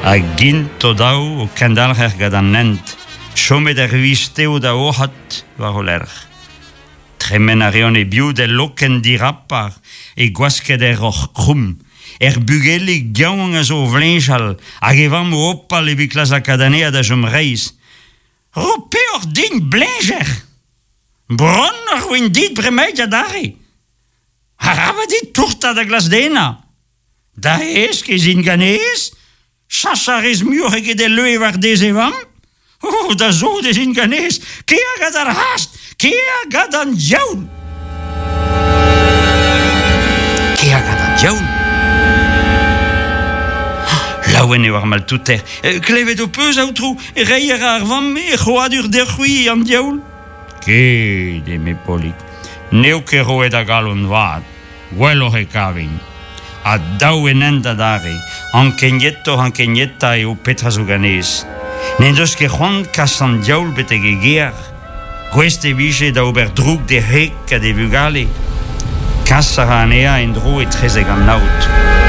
Hag int o-daou o kendalc'her gant an hent, chomet er Wisteo da oc'hat war o lerc'h. Tremen a reont e-biou d'el lokenn dirapar, e gwasked er roc'h krumm. Er bugelig yaouank a zo o vleñjal, hag e vamm o hopal evit klask lakaat anezhañ da chom reizh. Ro peoc'h din, bleñjer! Bronn a roin dit bremaik adarre! Arabat dit tourtañ da glask denañ! Da hesk ez int ganez? Chachañ a rez muioc'h eget el leue war dez e vamm? Oh, da sot ez int ganez! Kea gant ar c'hast! Kea gant an diaoul! Kea gant an diaoul! Laouen eo ar maltouter. Klevet ho peus, aotrou, reiñ a ra ar vamm he c'hrouadur deoc'h-c'hwi, an diaoul? Ket, eme Polig, n'eo ket roet a galon vat. Gwelloc'h e kavin. Ha dav en hent adarre. Ankenietoc'h-ankenietañ eo petra zo ganez. N'en deus ket c'hoant kas an diaoul betek e gêr. Gouest e vije da ober droug d'e wreg ha d'e vugale. Kas a ra anezhañ en-dro etrezek an aod.